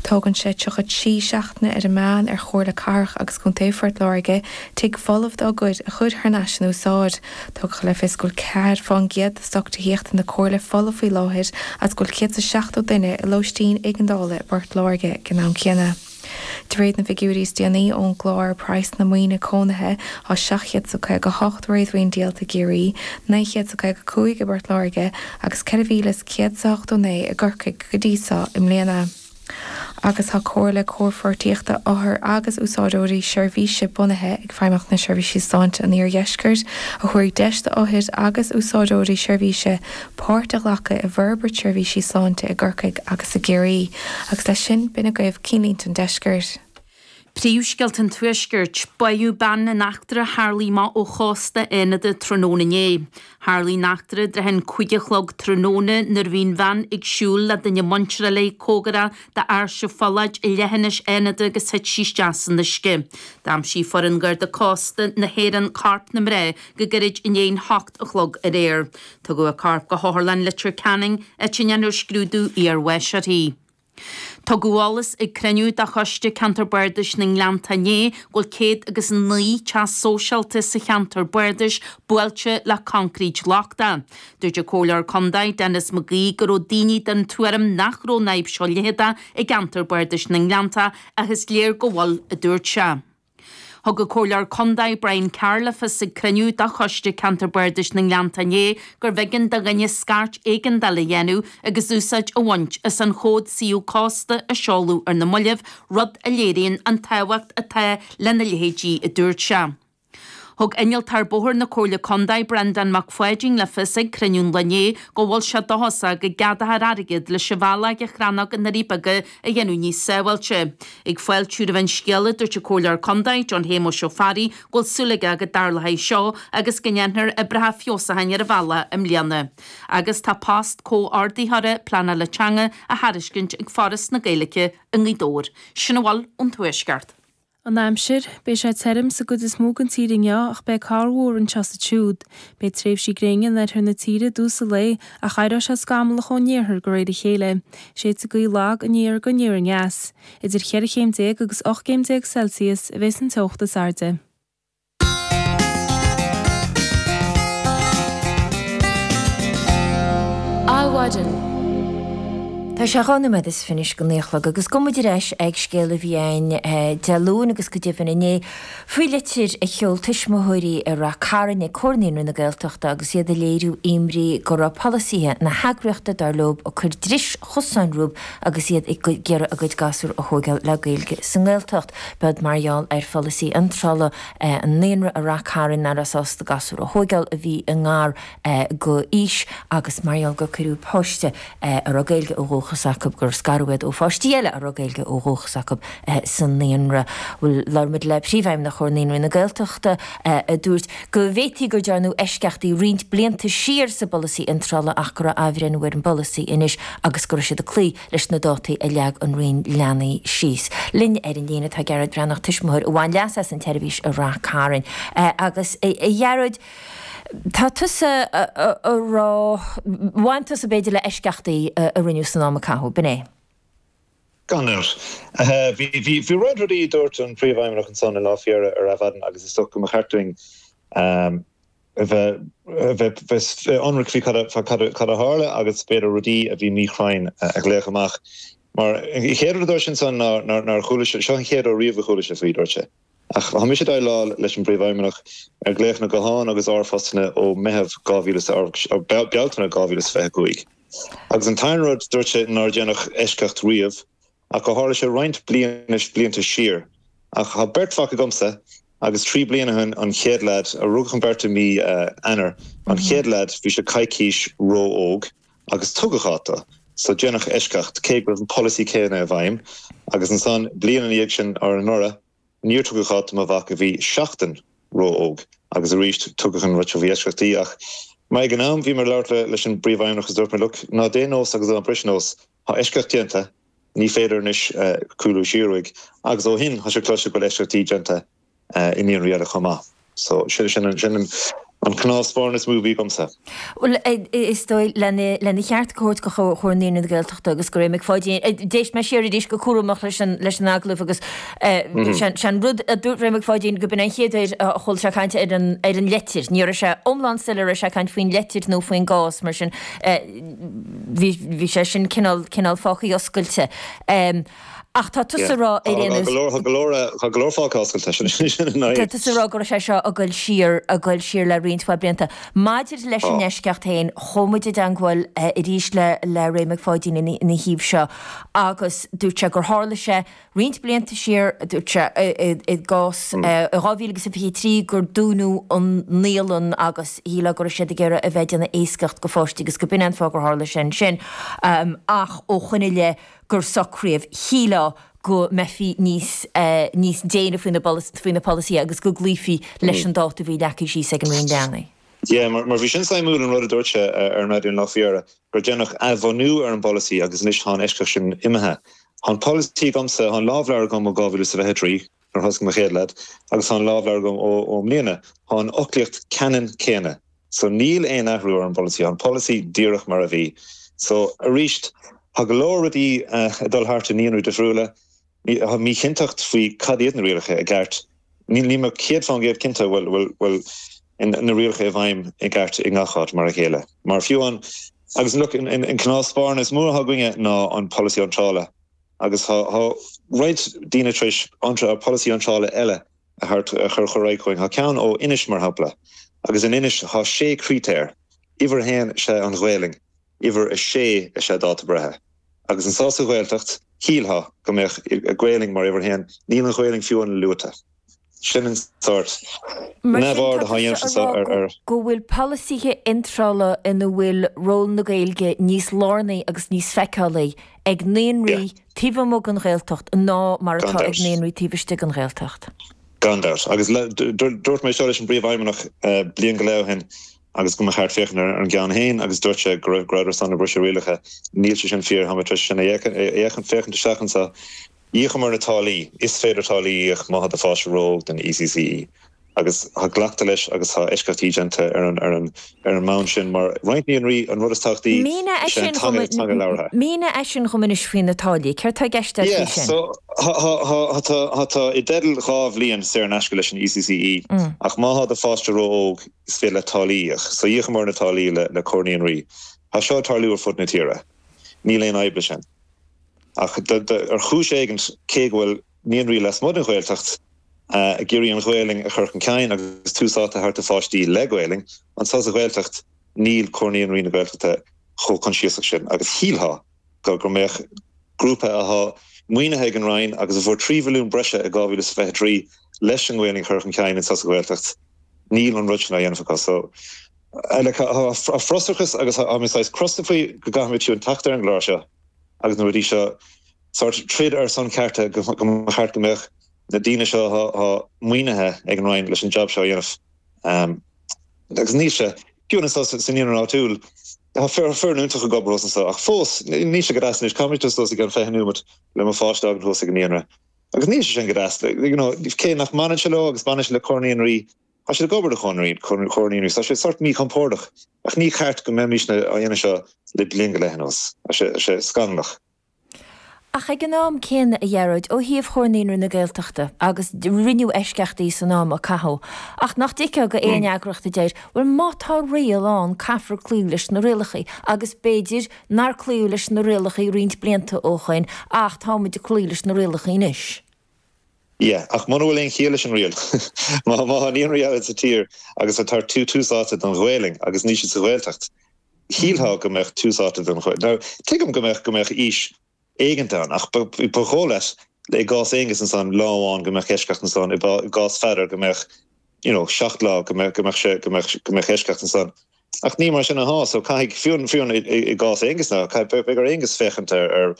Tógann sé 33 seachtaine ar an meán ar Chomhairle Cathrach agus Contae Phort Láirge tigh folamh dá gcuid a chur thar n-ais in úsáid. Tugadh le fios go bhfuil 4 fán gcéad de stoc tithíochta na Comhairle folamh faoi láthair agus go bhfuil 170 duine i lóistín éigeandála i bPort Láirge ag an am céanna. De réir na bhfigiúirí is déanaí ón gclár Praghsanna Maoine Cónaithe, tá 758 réadmhaoin díolta i gCiarraí, 955 i bPort Láirge agus 4,189 i gCorcaigh go dtí so i mbliana. Agus tá Comhairle Comhpháirtíochta Othar agus Úsáideoirí Seirbhíse bunaithe ag Feidhmeannacht na Seirbhísí Sláinte an Iardheiscirt a thabharfaidh deis d'othair agus úsáideoirí seirbhíse páirt a ghlacadh i bhforbairt seirbhísí sláinte i gCorcaigh agus i gCiarraí. Agus leis sin, b'in agaibh Cinnlínte an Deiscirt. Príomhscéalta an Tuaiscirt, Báthadh bean in eachtra a tharlaigh amach ó chósta Fhánada tráthnóna inné. Tharlaigh an eachtra i dtrátha an 5 a chlog tráthnóna nuair a bhí an bhean ag siúl le duine muinteartha léi cóngarach d'Áirse Pholláid i leithinis Fhánada agus thit sí isteach san uisce. D'aimsigh foireann Gharda Cósta na hÉireann corp na mná go gairid i ndiaidh an hocht a chlog aréir. Tugadh a corp go hOtharlann Leitir Ceanainn, áit a ndéanfar scrúdú iarbháis uirthi. Tugadh eolas ag cruinniú de Choiste Ceantar Bardais na nGleannta inné go bhfuil 109 teach sóisialta sa cheantar bardais buailte le concrete lochtach. Dúirt an Comhairleoir Contae Denis McGee go raibh daoine den tuairim nach raibh an fhadhb seo leitheadach i gceantar bardais na nGleannta ach is léir go bhfuil, a dúirt sé. Thug an Comhairleoir Contae Brian Carr le fios ag cruinniú de Choiste Ceantar Bardais na nGleannta inné gurbh éigean do dhuine scairt éigeandála a dhéanamh agus úsáid a bhaint as an chód suíomh cósta a seoladh ar na mallaibh, rud a léiríonn an tábhacht atá lena leithéidí, a dúirt sé. Thug Innealtóir Bóthair na Comhairle Contae Breandán Mac Pháidín le fios ag cruinniú an lae inné go bhfuil sé dóchasach go gceadófar airgead leis an bhealach de Chrannóg na nDoirí Beaga a dhéanamh níos sábháilte. Ag fáiltiú roimh an scéala, dúirt an Comhairleoir Contae, John Shéamuis Ó Fearraigh, go bhfuil súil aige go dtarlóidh seo agus go ndéanfar oibreacha feabhsúcháin ar an bhealach i mbliana. Agus tá post comhordaitheora pleanála teanga á thairiscint ag Foras na Gaeilge i nGaoth Dobhair. Sin a bhfuil ón Tuaisceart. An aimsir, Beidh sé tirim sa gcuid is mó den tír inniu ach beidh corrmhúr anseo is ansiúd. Beidh tréimhsí gréine in oirthear na tíre i dtús an lae ach éireoidh sé scamallach ón iarthar de réir a chéile. Séidfidh gaoth lag aniar go aniar aneas. Idir cheithre chéim déag agus 18 gcéim Celsius a bheas an teocht is airde. Adhmhaidin. Tá sé 2 nóiméad is fiche go 9 a chlog agus gabhfaidh muid ar ais ag scéal a bhí ann Dé Luain agus go deimhin inné faoi litir a sheol tuismitheoirí i Rath Cairn ag Comhar Naíonraí na Gaeltachta agus iad ag léiriú imní go raibh polasaithe na heagraíochta, dar leo, ag cur dris chosáin rompu agus iad ag iarraidh a gcuid gasúr a thóigeáil le Gaeilge sa nGaeltacht. B'iod mar gheall ar pholasaí iontrála an naíonra i Rath Cairn nach raibh sásta gasúr a thóigeáil a bhí i ngar go aois agus mar gheall gur cuireadh páiste a raibh Gaeilge ó dhúchas acu, gur scaradh iad ó pháistí eile a raibh Gaeilge ó dhúchas acu sa naíonra. Bhuel, labhair muid le Príomhfheidhmeannach Chomhar Naíonraí na Gaeltachta a dúirt go bhféadfaí gur dearnadh eisceachtaí roinnt blianta siar sa bpolasaí iontrála ach go raibh athbhreithniú ar an bpolasaí anois agus go raibh siad ag cloí leis na dátaí a leag an Roinn Leanaí síos. Linn ar an líne tá Gearóid Breathnach, tuismitheoir a bhain leas as an tseirbhís i Rath Cairn. Agus a Ghearóid, tá tusa a rá, bhain tusa b'fhéidir le eisceachtaí a rinneadh san am a caitheadh, b'in é? Gan dabht. Bhí roinnt rudaí a dúirt an Príomhfheidhmeannach ansan i Lá Fiera ar Adhmhaidin agus is dócha go mba cheart dúinn a bheith ionraic faoi cad a tharla agus b'fhéidir rudaí a bhí míchruinn a ghlaoch amach. Mar an chéad rud a dúirt sé ansan ná nár chuala sé, seo an chéad uair riamh a chuala sé faoi, dúirt sé. Ach tá mise ag déileáil leis an bPríomhfheidhmeannach ar glaochanna gutháin agus r-phostanna ó Meitheamh 2000, ó Bealtaine 2025. Agus an t-aon rud, dúirt sé nár déanadh eisceacht riamh ach gur tharla sé roinnt blianta siar. Ach tá beirt mhac agamsa agus 3 bliana ó shin an chéad leaid, a rugadh an bheirt i mí Eanáir, an chéad leaid bhí sé coicís ró-óg agus tugadh áit dó. So déanadh eisceacht, cé go raibh an polasaí céanna i bhfeidhm. Agus ansan bliain ina dhiaidh sin, or anuraidh, níor tugadh áit do mo mhac a bhí seachtain ró-óg agus arís tugadh an rud seo, bhí eisceachtaí ach mar ag an am bhí mé ag labhairt leis an bpríomhfheidhmeannach agus dúirt mé look, ná déan nós agus ná bris nós, tá eisceacht déanta, ní féidir anois cúlú siar uaidh agus ó shin tá sé cloiste go bhfuil eisceachtaí déanta i naíonraí eile chomh maith. So sin sin an. An cnámh spairne is mó a bhí agamsa. Bhuel, is dóigh, lena cheart a thabhairt do Chomhar Naíonraí na Gaeltachta agus do Ray Mac Pháidín, d'éist mé siar arís go cúramach leis an leis an agallamh agus sé an rud a dúirt Ray Mac Pháidín go b'in an chéad uair a chuala sé caint ar an ar an leitir. Ní raibh sé iomlán soiléir raibh sé ag caint faoin leitir nó faoin gcás, mar sin bhí bhí sé sin cineál cineál fágtha oscailte. Ach tá tusa ag rá ar aon nós. Tá go leor, tá go leor fágtha oscailte, sin an fhadhb. Tá tusa ag rá go raibh sé seo ag goil siar, ag goil siar le roinnt mhaith blianta. Maidir leis an eisceacht féin, chuaigh muid i dteangmháil arís le le Ray Mac Pháidín ina thaobh seo agus dúirt sé gur tharla sé roinnt blianta siar, dúirt sé i gcás i 2023 gur dúnadh an naíolann agus shílfeá go raibh siad ag iarraidh a bheith ag déanamh éascaíocht go pháistí agus go b'in é an fáth gur tharla sé ansin. Ach ó shoin i leith, gur socraíodh, shílfeá go mbeifí níos, níos déine faoi na, faoi na polasaithe agus go gcloífí leis an dáta a bhí leagtha síos ag an Roinn Leanaí. Yeah, mar, mar bhí sin suimiúil an rud a dúirt sé ar an raidió an lá faoi dheireadh, gur déanadh athbhunú ar an bpolasaí agus anois tá an eisceacht sin imithe. Tá an polasaí agamsa, tá an lámhleabhar agam ó 2023, nuair a thosaigh mo chéad leaid, agus tá an lámhleabhar agam ó, ó mbliana. Tá an fhoclaíocht ceannann céanna. So níl aon athrú ar an bpolasaí, tá an polasaí díreach mar a bhí. So arís, tá go leor rudaí ag dul thart i naíonraí difriúla, tá míchinnteacht faoi cad iad na rialacha i gceart. Níl mé 100% cinnte bhfuil bhfuil na rialacha i bhfeidhm i gceart i ngach áit mar a chéile. Mar fiú an, agus look, an cnámh spairne is mó atá againne ná an polasaí iontrála agus tá roinnt daoine tar éis polasaí iontrála eile a chur ar aghaidh chugainn. Tá ceann ó Inis, mar shampla, agus in Inis tá sé chritéar, uimhir a haon is ea an Ghaelainn, uimhir a sé is ea dáta breithe. Agus anso sa Ghaeltacht, shílfeá go mbeadh Gaelainn mar uimhir a haon, níl an Ghaelainn fiú amháin luaite. Sin an sórt Mar sin, neamhaird tá atá á dhéanamh tusa anso ag rá ar. go bhfuil polasaithe iontrála ina bhfuil ról na Gaeilge níos lárnaí agus níos feiceálaí ag naíonraí Yeah. taobh amuigh den Ghaeltacht ná mar Gan atá ag dabht. naíonraí taobh istigh den Ghaeltacht. Gan dabht. Agus dúirt mé seo leis an bPríomhfheidhmeannach bliain go leith ó shin agus go mba cheart féachaint ar an gceann féin agus dúirt sé go raibh go rabhadar ar son na briseadh rialacha. Níl sé sin fíor. Tá mé tar éis sin a fhéachaint féachaint isteach anseo. Íocamar na táillí. Is féidir táillí a íoc má tá do pháiste ró-óg don ECCE. Agus tá glactha leis agus tá eisceachtaí déanta ar an ar an ar an mbonn sin mar roinnt naíonraí an rud is tábhachtaí Mínigh é is ea an sin dhom teanga teanga labhartha. Mínigh é sin dhom anois faoi na táillí. Céard tá i gceist agat Yeah, faoi sin? so tá tá tá tá tú i dteideal 2 bhliain saor in aisce leis an ECCE ach má tá do pháiste ró-óg is féidir leat táillí a íoc. So íocamar na táillí le le Comhar Naíonraí. Tá seo ag tarlú ar fud na tíre. Níl aon fhadhb leis sin. Ach ar chúis éigin cé go bhfuil naíonraí lasmuigh den Ghaeltacht ag iarraidh an Ghaelainn a chur chun cinn agus tús áite a thabhairt do pháistí le Gaelainn, anso sa Ghaeltacht níl Comhar Naíonraí na Gaeltachta chomh coinsiasach sin agus shílfeá go go mbeadh grúpa atá maoinithe ag an Roinn agus a fuair 3 mhilliún breise i 2023 leis an nGaelainn a chur chun cinn anso sa Ghaeltacht, níl an rud sin á dhéanamh acu. So like tá frustrachas agus tá mé saghas crosta faoi go gcaithfimid fiú teacht ar an gclár seo agus na rudaí seo sórt troid ar son cearta go mba cheart go mbeadh na daoine seo atá maoinithe ag an Roinn leis an jab seo a dhéanamh. Agus níl sé, fiú anso sa naíonra áitiúil, tá foireann iontach ag obair thuas anso ach fós níl sé go deas anois, caithfidh mé dul suas i gceann 20 nóiméad le mo pháiste a fhágaint thuas ag an naíonra. Agus níl sé sin go deas, you know, cé nach mbaineann sé leo agus baineann sé le Comhar Naíonraí, tá siad ag obair do Chomhar Naíonraí, so tá sé sórt míchompordach ach ní ceart go mbeimisne á dhéanamh seo le bliain go leith anuas. Tá sé scannalach. Ach ag an am céanna, a Ghearóid, ó thaobh Chomhar Naíonraí na Gaeltachta, agus rinneadh eisceachtaí san am a caitheadh, ach nach dtuigfeá go aon eagraíocht a deir, bhuel má tá riail ann caithfear cloí leis na rialacha, agus b'fhéidir nár cloíodh leis na rialacha roinnt blianta ó shoin ach tá muid ag cloí leis na rialacha anois. Yeah, ach muna bhfuil aon chiall leis an riail, má tá naíonraí eile sa tír agus ag tabhairt tús áite don Ghaelainn agus níl siad sa Ghaeltacht, Shílfeá go mbeadh tús áite don Ghaeilge. Now, tuigim go mbeadh, go mbeadh aois éigint ann, ach ba, ba dhóigh leat i gcás Aonghus ansan, lá amháin go mbeadh eisceacht ansan, i gcás Pheadair go mbeadh, you know, 7 lá go mbeadh, go mbeadh sé, go mbeadh, go mbeadh eisceacht ansan. Ach ní mar sin athá, so caithfidh, fiú, fiú i, i gcás Aonghus now, caithfidh, beidh ar Aonghus féachaint ar,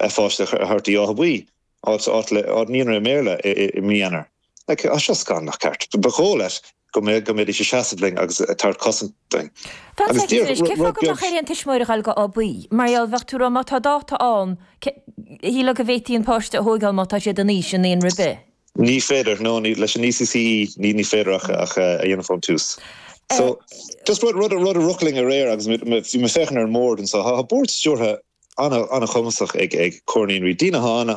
ar pháiste a thabhairt dtí Áth Buí. Áit, áit le, áit naíonra i mBéarla i mí Eanáir. Like, tá seo scannalach ceart. Ba dhóigh leat go mbeadh, go mbeidís ag seasamh linn agus ag tabhairt cosaint dúinn. Fan Agus soicind díreach anois, cé rud fáth go beag. mbeadh ar aon tuismitheoir a ghoil go Áth Buí? Mar gheall, bheadh tú ag rá má tá dáta ann, cé, shílfeá go bhféadfaí an páiste a thóigeáil má tá siad in aois i naíonra ar bith. Ní féidir, no, ní, leis an ECCE, ní, ní féidir ach, ach a dhéanamh ón tús. So, just rud, rud, rud a rith linn aréir agus bhí mé ag féachaint ar an mbord anso, tá bord stiúrtha an-chumasach ag Comhar Naíonraí. Daoine atá an.